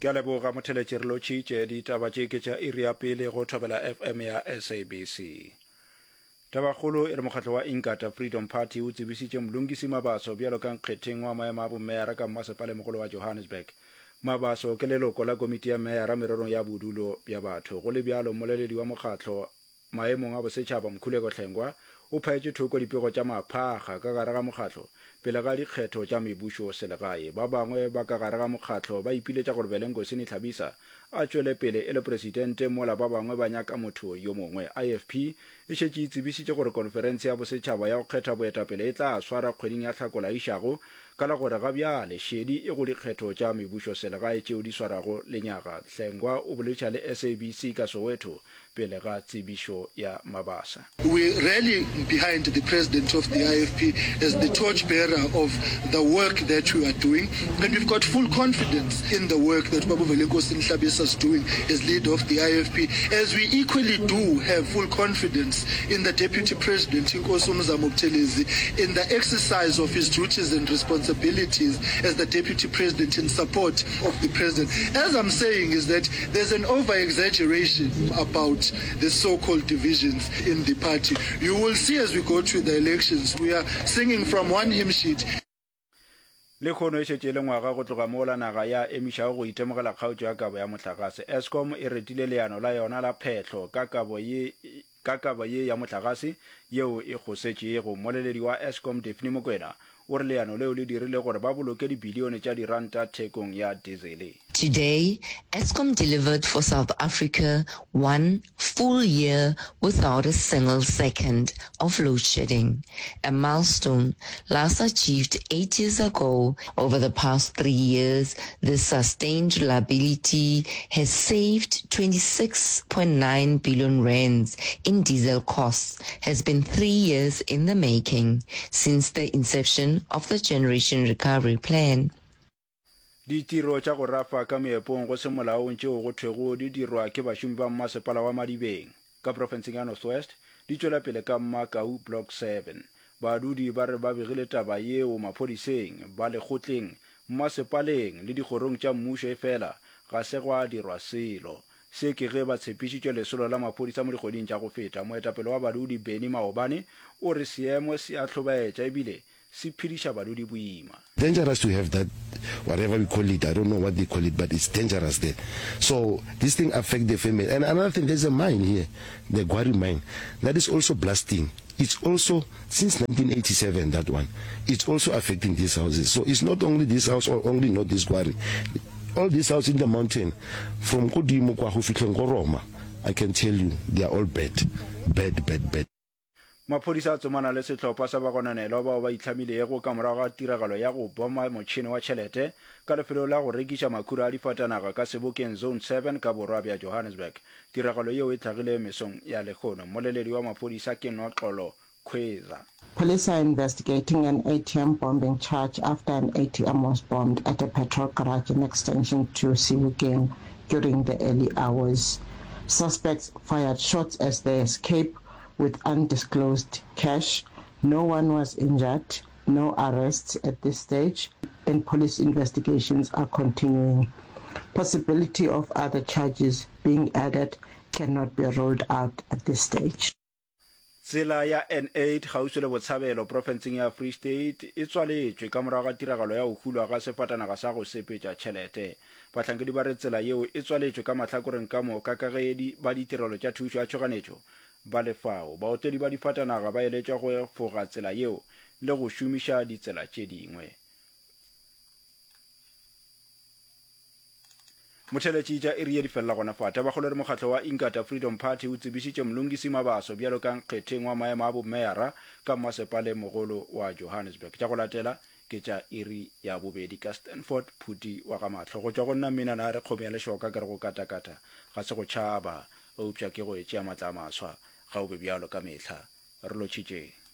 Ke a leboga Motheletši re lotšhitše. Ditaba tše ke tša iri ya pele go Thobela FM ya SABC. Tabakgolo e re mokgatlo wa Inkatha Freedom Party o tsebišitše Mlungisi Mabaso bjalo ka nkgetheng wa maemo a bomeyara ka mmasepale-mogolo wa Johannesburg. Mabaso ke leloko la komiti ya meyara mererong ya bodulo bja batho. Go le bjalo, mmoleledi wa mokgatlo Maemong a bosetšhaba, Mkhuleko Hlengwa o phaetše thoko dipego tša maphakga ka gare ga mokgatlo pele ga dikgetho tša mebušo selegae. Ba bangwe ba ka gare ga mokgatlo ba ipiletša gore Velenkosini Hlabisa a tšwele pele e le presidente mola ba bangwe ba nyaka motho yo mongwe. IFP e šetše e tsebišitše gore konferense ya bosetšhaba ya go kgetha boetapele e tla swarwa kgweding ya Hlakola išago ka la gore ga bjale šedi e go dikgetho tša mebušo selegae tšeo di swarwago lenyaga. Hlengwa o boletša le SABC ka Soweto pele ga tsebišo ya Mabasa. We rally behind the president of the IFP as the torch bearer of the work that we are doing and we've got full confidence in the work that Babu Velenkosini Hlabisa is doing as leader of the IFP as we equally do have full confidence in the deputy president Inkosi uMzamo Buthelezi in the exercise of his duties and responsibilities as the deputy president in support of the president. As I'm saying is that There's an over exaggeration about the so called divisions in the party. You will see as we go to the elections, we are singing from one hymn sheet. Lehono e šetše e le ngwaga go tloga mola naga ya emišago go itemogela kgaotšo ya kabo ya mohlagase. Eskom e retile leano la yona la phehlo ka kabo ye ka kabo ye ya mohlagase yeo e kgosetšego. Mmoleledi wa Eskom Daphne Mokwena o re leano leo le dirile gore ba boloke dibilione tša diranta thekong ya dizele. Today, Eskom delivered for South Africa one full year without a single second of load shedding, a milestone last achieved eight years ago. Over the past three years, this sustained reliability has saved 26.9 billion rands in diesel costs, has been three years in the making since the inception of the Generation Recovery Plan. Ditiro tša go rafa ka meepong go se molaong tšeo go thwego di dirwa ke bašomi ba mmasepala wa Madibeng ka profenseng ya North West di tšwela pele ka Mmakau Block 7. Badudi ba re ba begile taba yeo maphodiseng, ba lekgotleng, mmasepaleng le dikgorong tša mmušo efela ga se gwa dirwa selo. Se ke ge ba tshepišitšwe lesolo la maphodisa mo dikgweding tša go feta. Moetapele wa badudi Benny Maobane o re seemo se a hlobaetša ebile se phediša badudi boima. Dangerous to have that whatever we call it I don't know what they call it but it's dangerous there so this thing affect the family and another thing there's a mine here the Gwari mine that is also blasting it's also since 1987 that one it's also affecting these houses so it's not only this house or only not this Gwari all these house in the mountain from kodimo kwa go fihleng go Roma I can tell you they are all bad bad bad bad Maphodisa a tsomana le sehlopha sa bagononelwa bao ba itlhamilego ka morago ga tiragalo ya go boma motšhene wa tšhelete ka lefelong la go rekiša makhura a difatanaga ka Sebokeng Zone 7 ka borwa bja Johannesburg. Tiragalo yeo e hlagile mesong ya lehono. Mmoleledi wa maphodisa ke Noxolo Khweza. Police are investigating an ATM bombing charge after an ATM was bombed at a petrol garage in Extension 2, Sebokeng during the early hours. Suspects fired shots as they escaped with undisclosed cash. No one was injured, no arrests at this stage, and police investigations are continuing. Possibility of other charges being added cannot be ruled out at this stage. Tsela ya N8 kgauswi le Botshabelo profenseng ya Free State e tswaletšwe ka morago ga tiragalo ya go hulwa ga sefatanaga sa go sepetša tšhelete. Bahlankedi ba re tsela yeo e tswaletšwe ka mahlakoreng ka moka ka ge ba ditirelo tša thušo ya tšhoganetšo ba le fao. Baotledi ba difatanaga ba eletšwa go efoga tsela yeo le go šomiša ditsela tše dingwe. Motheeletši tša iri ye di felela gona fa. Tabakgolo e re mokgatlo wa Inkatha Freedom Party o tsebišitše Mlungisi Mabaso bjalo ka nkgetheng wa maemo a bomeyara ka mmasepaleng mogolo wa Johannesburg. Tša go latela ke tša iri ya bobedi ka Stanford Phuti wa ga Mahlo. Go tšwa go nna Mmina Nare Kgomo ya Lešoka ke re go katakata ga se go tšhaba eupša ke go e tšea matla a maswa. Ga o be bjalo ka mehla. Re lotšhitšeng.